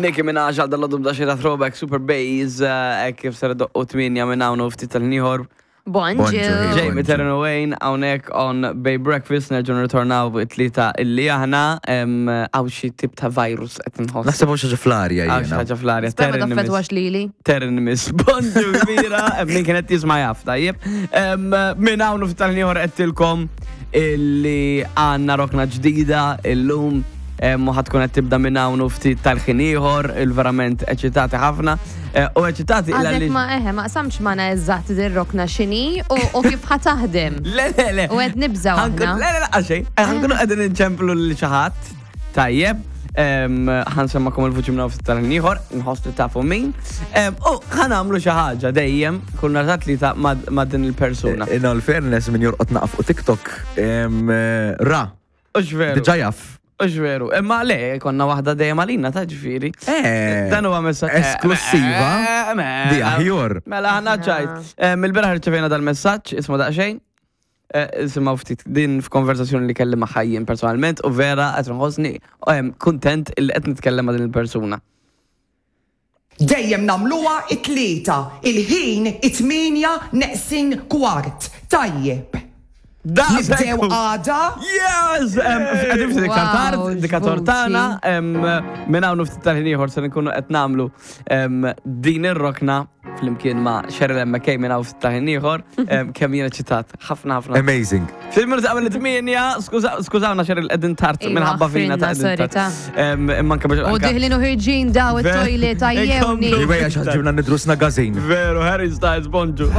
Nicki Minaj għal dal-għodu b'daxi ta' throwback Super Bass, eh, kif ser doqqu 8 minn hawn u ftit tal-ieħor. Bonġu. Bonġu. Jamie Terran Wayne hawnhekk on Bay Breakfast nerġgħu nirritornaw it-tlieta illi aħna hawn xi tip ta' virus qed inħoss. Naħseb hawn xi ħaġa fl-arja Hawn xi jiena. ħaġa fl-arja. Spera ma Terran taffetwax lili. Terran miss. Bonġu kbira, min kienet jisma' jaf, tajjeb. Minn hawn u ftit tal-ieħor qedtilkom illi għandna rokna ġdida illum u ħatkun qed tibda minn hawn u ftit tal-ħin ieħor, il-verament eċitati ħafna. Eh, u eċitati illa Għadek li. ma eħe, ma qsamx magħna eżatt din rokna x'inhi u kif ħa taħdem. Le, le, le. U qed nibżgħu Ħankun- aħna. Le, le, le, għaxej. Ħankunu qegħdin inċemplu lil xi ħadd. Tajjeb. Ħansemmakom il-vuċi minn ftit tal-ħin ieħor, nħoss li tafu min. U ħanamlu xi ħaġa dejjem kull nhar ta' tlieta ma' din il-persuna. In all fairness, min jorqod naqaf fuq TikTok, eh, ra, Ux veru. diġa jaf. Ux veru. Imma le, konna waħda dejjem għalina ta' ġifieri. Eh, Dan huwa messaġġ. Esklusiva. Eh, Di aħjor. Mela ħana ċajt. Mill-beraħ rċevejna dal-messaġġ, isma' daqsxejn. Eh, Isimgħu ftit din f'konversazzjoni li kelli ma' ħajjin personalment u vera qed nħossni kuntent illi qed nitkellem ma' din il-persuna. Dejjem nagħmluha it-Tlieta, il-ħin it-tmienja neqsin kwart. Tajjeb. Daqshekk Nibdew hu. għada? Yes! Qegħdin ftit iktar tard, Wow, indikator x'vuċi. tagħna, minn hawn u ftit tal-ħin ieħor se nkunu qed nagħmlu din ir-rokna flimkien ma' Cheryl M. McKay minn hawn ftit tal-ħin ieħor, kemm jien eċitat. Ħafna ħafna. Amazing. Ftit minuti qabel it-tmienja, skużawna Cheryl qegħdin tard Iva, minħabba fina ta' ħafrinna, qegħdin sorry, tard. Imma anke biex U anke- diħlin u ħirġin daw it-toilet għajjewni. Iwejja xaġġibna nidrusna gazin. Veru, Harry Styles, bonġu.